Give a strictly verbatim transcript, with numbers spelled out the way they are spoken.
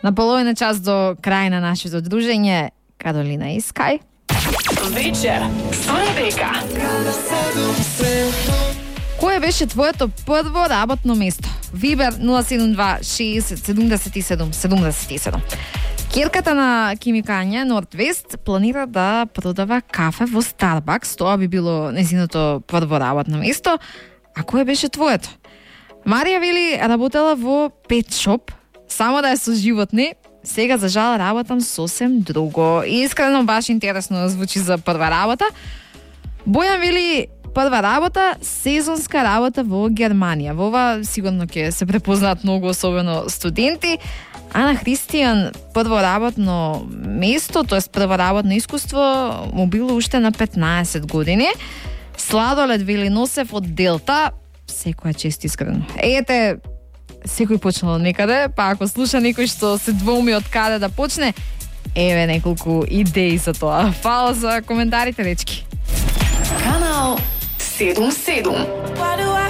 На половина час до крај на нашето дружење, Каролина и Скај. Вечер со Ребека. Кое беше твоето прво работно место? Вибер нула седум два шеесет седумдесет и седум седумдесет и седум. Керката на Кимикања Нордвест планира да продава кафе во Старбакс. Тоа би било незиното прво работно место. А кое беше твоето? Марија вели работела во пет шоп, само да е со животни. Сега за жал работам сосем друго. И искрено баш интересно звучи за прва работа. Бојан вели прва работа, сезонска работа во Германија. Во ова сигурно ќе се препознаат многу, особено студенти. Ана Христијан прво работно место, тоест прво работно искуство, му било уште на петнаесет години. Сладолед вели носев од Делта, секоја чест искрено. Ете, секој почнал од некаде, па ако слуша некој што се двоуми од каде да почне, еве неколку идеи за тоа. Фала за коментарите, дечки. Канал седум седум.